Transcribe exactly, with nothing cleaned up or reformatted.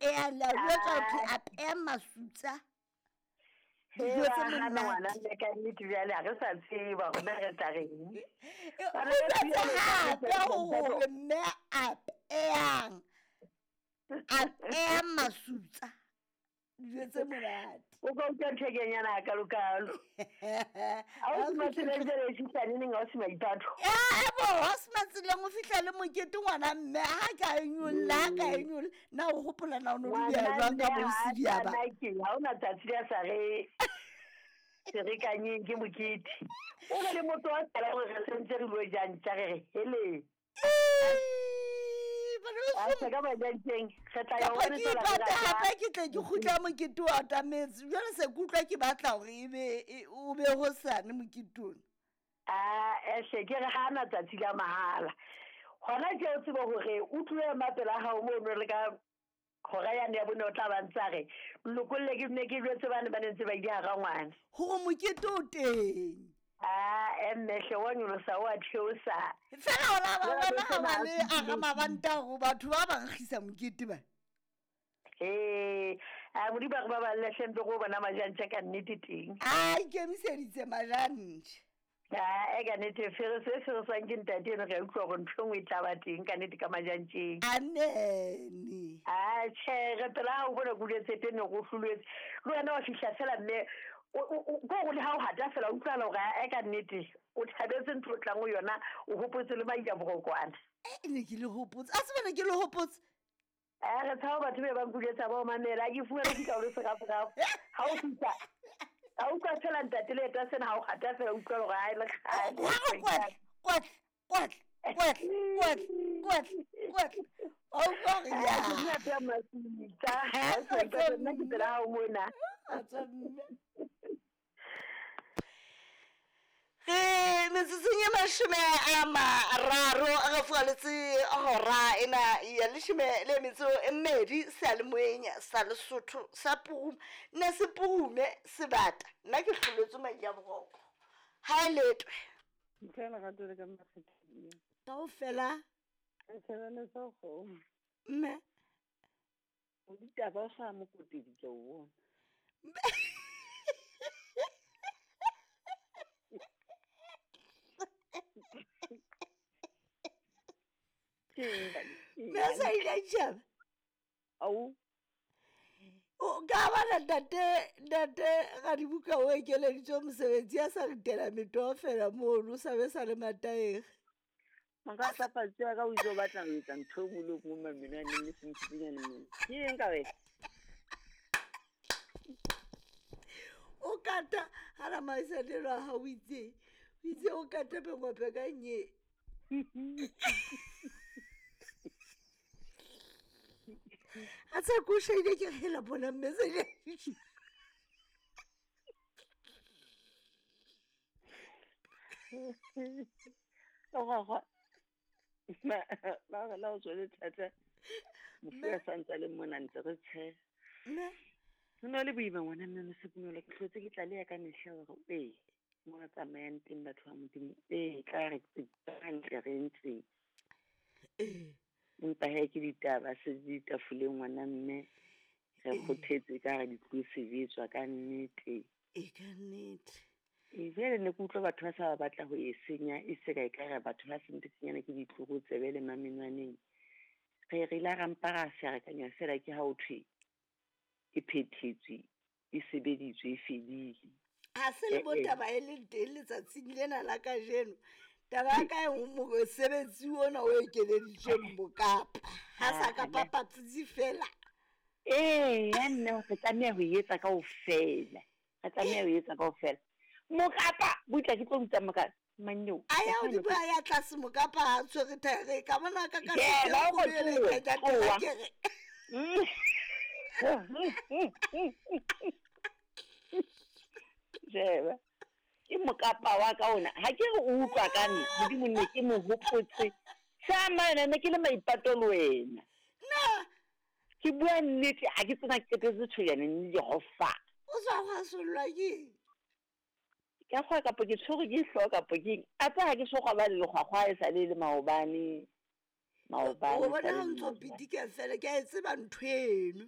apeyang le a jwetsa ho thwe apeyang masutsa dijo tse monate. Ka nnete jwale ha re sa tseba hore na re tla reng. O jwetse hape hore mme apeyang apeyang masutsa dijo tse monate. O ka utlwa ntho e kenyana hakalokalo. Ha o se matseleng jwale e fihla neneng ha o se maipato? Ebo, ha o se matseleng o fihla le mokete ngwana mme ha ka e nyolla, ha ka e nyolla. Na o hopola na o no di beha jwang ka bo Sidi ya ba? Ha hona tsatsi le sa re ferekanyeng ke mokete. O re le motho wa tsela hore re sentse re lo jang tja re re hele. Hape ke tle ke kgutla mokete wa atametse. Jwale se ke utlwa ke batla hore ebe o be hosane mokete ona. Ah, ehle ke re ha na tsatsi la mahala. Hona ke o tsebe hore o tlohe mapela hao mono le ka hora yane ya bone o tla ba ntsa re lokolle ke ne ke jwetse bane ba ne ntse ba ile hara ngwana. Hore mokete o teng. Ah, emme hle wa nyolosa wa theosa. Fela ona ba bona ha ba le a mabanta hore batho ba ba nkgisa mokete ba. Eh, a modimo ba re ba balle hle ntse go bona majantja ka nnete teng. A ikemiseditse majantja. Ah, e ka nnete fere se se sang ke ntate eno re utlwa hore ntho e nngwe e tla ba teng ka nnete ka majantjeng. Anene. Ah, tjhe, re pela ha o bona kuletse teng go hlolwetse. Le wena wa fihla fela mme ko go le ha o hata fela utlwala hore e ka nnete o thabetse ntho o tlang ho yona o hopotse le maila borokwana. E ne ke le hopotse. A se bana ke le hopotse. Eh, re tshaba batho be ba nkuletsa ba o mamela. Ha ke fumane fihla o le seraferafe. Ha o fihla ha utlwa fela ntate le eta sena ha o hata fela utlwa hore ha e le kgale. Kwatle, kwatle, kwatle, kwatle, kwatle, kwatle, kwatle. O utlwa hore ya. Ke nna masitsa. Ha ke nna ke pela hao mona. A tswa mme. Re metsotsong e mashome a mararo re fualetse hora ena ya leshome le metso e mmedi seyalemoyeng sa Lesotho sa Purume. Nna se Purume sebata nna ke hloletswe madi a boroko. Ha e letwe. Ntle lerato le ka makgetheng. Kaofela. Re tshebeletsa kgomo. Mme. O ditaba o sa mokotedi ke o bona. Mme a sa ile a tjhaba. Au. O ka bona ntate ntate Radibuka o ekeleditswe mosebetsi a sa ritela metoho fela mono o sa be sa le mataere. Maka papatsi ya ka o itse o batla ho etsa ntho e nngwe le e nngwe mamenwaneng le sentsenyane mona. Ke eng ka wena? O kata hara maisanelo a hao o itse o itse o kata mengwape ka nye. A tsa ko shaile ke hela bona mme se le. O Ma ba re la o tswele thata. Mofu a sa ntse a le mona ntse re tshe. Mme ho na le boima ngwana mme Mosepinolo ke hlotse ke tlaleha ka mehla hore ee mo re tsamayang teng batho ba Modimo ee tla re hantle re ntse. Ee. Empa he ke ditaba se di tafoleng ngwana mme re kgothetse ka re di tlo sebetswa ka nnete. E ka nnete. E jwale ne ke utlwa batho ba sa ba batla ho e senya e se ka ekare batho ba sentsenyana ke ditlokotsebe le mamenwaneng. Re re la rampa ra ferekanya fela ke ha o thwe e phethetswe e sebeditswe e fedile. Ha se le bo taba e leng teng letsatsing lena la kajeno. Taba ya ka e mosebetsi ona o ekeleditsweng Mokapa. Ha sa ka papatsi fela. Eh, ya nna re tlameha ho etsa kaofela. Re tlameha ho etsa kaofela. Mokapa butla ke tlo butsa mokapa manyo. A ya o di bua ya tlase Mokapa ha tshwere thaere ka bona ka ka ke Jeba. Ke Mokapa wa ka ona. Ha ke re o utlwa ka nna, Modimo nne ke mo hopotse. Sa mana ne ke le maipato le wena. Na ke bua nnete ha ke tsena qetetse tshwenyane le Jehova. O sa hwa sollwa ke ka kgwa kapo ke tshwere ke hlooho kapo ke a tsa ha ke so ba le lekgwakgwa e sa le le maobane maobane. O bona ha ntso pitika fela ke a e tseba ntho eno.